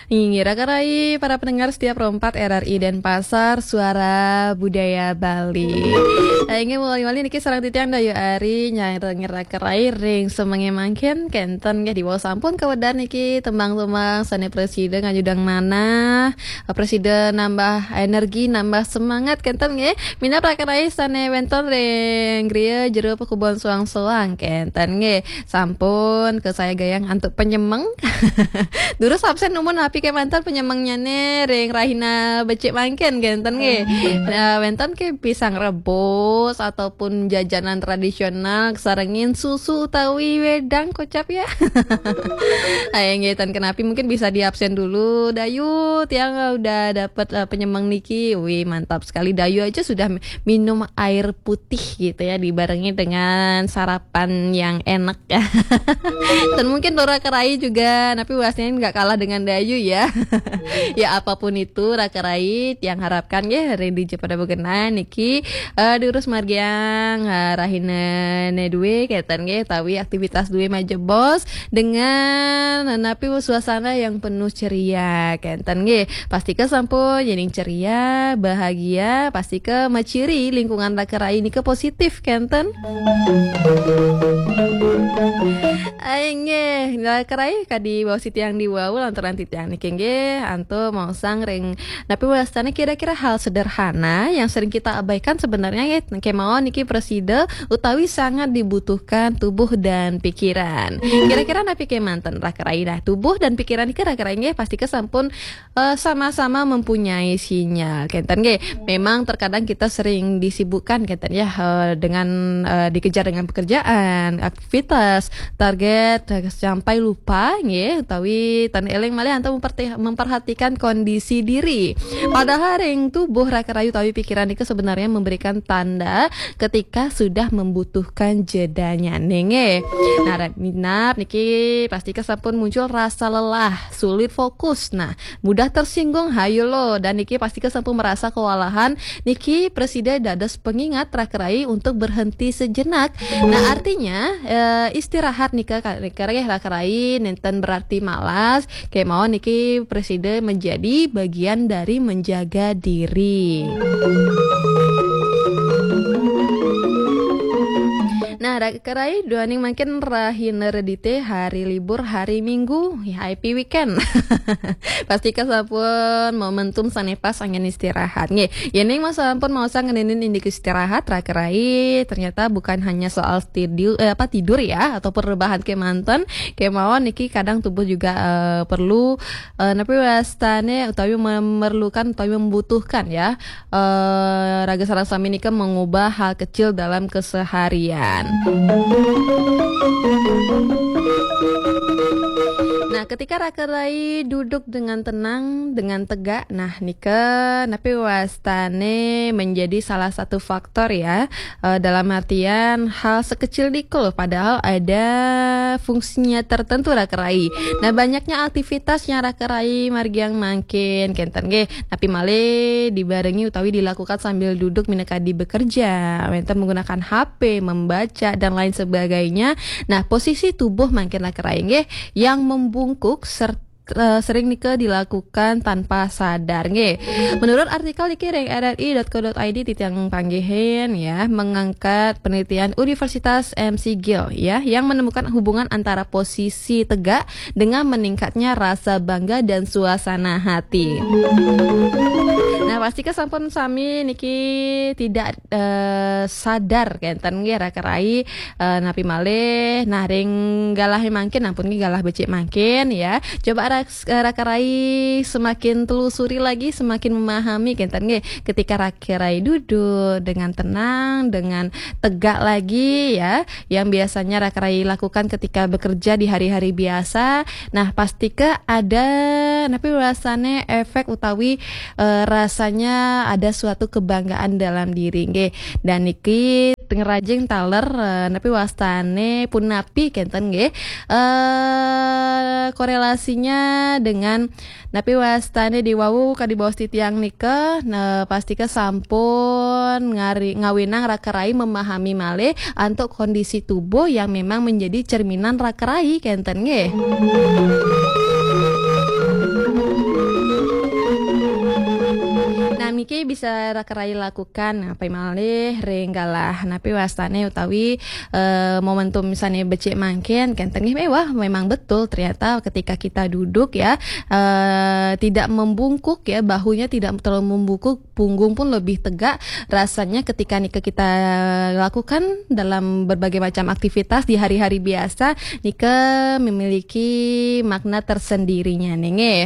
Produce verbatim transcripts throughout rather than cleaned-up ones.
Inggih, Raka Rai, para pendengar setia Pro empat R R I Denpasar, Suara Budaya Bali. Eh, inggih, mawali-wali niki sareng titiang Dayu Ari, nyarengin Raka Rai ring semenge mangkin, kenten nggih, diwau sampun kawedar niki tembang-tembang sane prasida ngajudang manah, prasida nambah energi, nambah semangat, kenten nggih. Minab Raka Rai sane wenten ring griya jero pakubon soang-soang, kenten nggih. Sampun kasayagayang antuk penyemeng. Durus absen numun napi kemanten penyemengnyane ring rahina becik mangkin kenten nggih. Nah, wenten ke pisang rebus ataupun jajanan tradisional sarengin susu utawi wedang kocap ya. Ayo nggih, tan kenapi mungkin bisa diabsen dulu. Dayu, tiang udah dapat, eh, penyemeng niki. Wih, mantap sekali. Dayu aja sudah minum air putih gitu ya, dibarengi dengan sarapan yang enak. Dan mungkin Raka Rai juga, tapi pastinya nggak kalah dengan Dayu ya. Ya apapun itu, Raka Rai, tiang harapkan ya, Redi Jepada Begenan niki, eh, diurus margiang, eh, rahina ne due, kaitan nggih, tawi aktivitas due majebos dengan napi suasana yang penuh ceria, kenten nggih. Pastika sampun yening ceria, bahagia, pastika maciri lingkungan Raka Rai nika positif, kenten. Ai nggih, Raka Rai kadi baos titiang diwau lantaran titiang niki nggih, antuk maosang ring napi wastane kira-kira hal sederhana yang sering kita abaikan sebenarnya nggih, kemawon niki prasida utawi sangat dibutuhkan tubuh dan pikiran. Kira-kira napi kemanten Raka Rai? Nah, tubuh dan pikiran niki Raka Rai nggih pastika sampun eh, sama-sama mempunyai sinyal. Kenten nggih. Memang terkadang kita sering disibukkan kenten ya, eh, dengan, eh, dikejar dengan pekerjaan, aktivitas, target, eh, sampai lupa nggih utawi tan eling malih antuk memperti-, memperhatikan kondisi diri. Padahal ring tubuh Raka Rai utawi pikiran itu sebenarnya memberikan tanda ketika sudah membutuhkan jedanya nggih. Nah, minab niki pastika sampun muncul rasa lelah, sulit fokus. Nah, mudah tersinggung, hayo lo. Dan niki pastika sampun merasa kewalahan. Niki prasida dados pengingat Raka Rai untuk berhenti sejenak. Nah, artinya, eh, istirahat nika ka-, nika nggih Raka Rai nenten berarti malas. Kemawon niki prasida menjadi bagian dari menjaga diri. Nah, Raka Rai duaning mangkin rahina Redite, hari libur, hari Minggu, happy weekend. Pastika sampun momentum sane pas anggen istirahat. Nggih, yening mas sampun maosang ngenenin indik istirahat, Raka Rai, ternyata bukan hanya soal tidur, eh, apa, tidur ya, ataupun rebahan kemanten, kemawon niki kadang tubuh juga, eh, perlu, eh, napi wastane utawi memerlukan utawi membutuhkan ya, eh, raga sareng sami nika mengubah hal kecil dalam keseharian. Nah, ketika Raka Rai duduk dengan tenang, dengan tegak, nah, nika napi wastane menjadi salah satu faktor ya, eh, dalam artian hal sekecil niko, padahal ada fungsinya tertentu Raka Rai. Nah, banyaknya aktivitas yang Raka Rai margiang mangkin, kenten nggih, napi malih dibarengi utawi dilakukan sambil duduk minangka di bekerja, wenten menggunakan H P, membaca, dan lain sebagainya. Nah, posisi tubuh mangkin Raka Rai nggih yang membungkuk serta, eh, sering nika dilakukan tanpa sadar nggih. Menurut artikel niki ring R R I dot co dot I D titiang panggihin ya, mengangkat penelitian Universitas M C Gill ya, yang menemukan hubungan antara posisi tegak dengan meningkatnya rasa bangga dan suasana hati. Nah, pastika sampun sami niki tidak, eh, sadar kenten nggih Raka Rai, eh, napi malih. Nah, ring galahe mangkin, ampun nggih galah becik mangkin ya. Coba rak-, eh, Raka Rai semakin telusuri lagi, semakin memahami kenten nggih. Ketika Raka Rai duduk dengan tenang, dengan tegak lagi ya, yang biasanya Raka Rai lakukan ketika bekerja di hari-hari biasa. Nah, pastika ada napi rasane efek utawi, eh, rasanya ada suatu kebanggaan dalam diri nggih. Dan niki ngrajing taler, eh, napi wastane punapi kenten nggih. Eh, korelasinya dengan napi wastane diwau kadi baos titiang nika, nah, pastika sampun ngari-, ngawinang Raka Rai memahami malih antuk kondisi tubuh yang memang menjadi cerminan Raka Rai kenten nggih. Oke, bisa raka rai lakukan apa malih ring galah napi wastane utawi eh, momentum misalnya becik mangkin, kenten nggih mewah. Memang betul, ternyata ketika kita duduk ya, eh, tidak membungkuk ya, bahunya tidak terlalu membungkuk, punggung pun lebih tegak. Rasanya ketika nika kita lakukan dalam berbagai macam aktivitas di hari-hari biasa, nika memiliki makna tersendirinya nih nggih.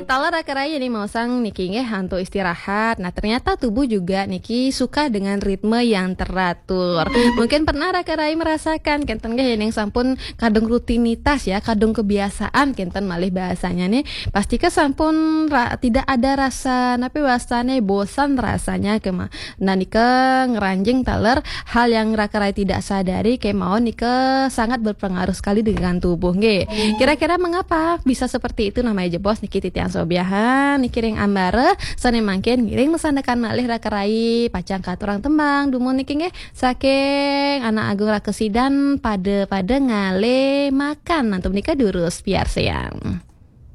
Taler raka rai nih maosang niki nggih antuk istirahat. Nah, ternyata tubuh juga niki suka dengan ritme yang teratur. Mungkin pernah raka rai merasakan kenten nggih ning sampun kadung rutinitas ya, kadung kebiasaan kenten malih bahasanya nih. Pastika sampun ra- tidak ada rasa napi wastane bosan rasanya kema. Nah, nika ngranjing taler hal yang raka rai tidak sadari kemawon nika sangat berpengaruh sekali dengan tubuh nggih. Kira-kira mengapa bisa seperti itu? Namanya jebos niki titiang sobiahan niki ring ambara sane mangkin ngiring masandekan malih raka rai pacang katurang tembang dumun niki nggih saking Anak Agung Raka Sidan, Pada-pada Ngalih Makan. Nantu menika durus piarsayang.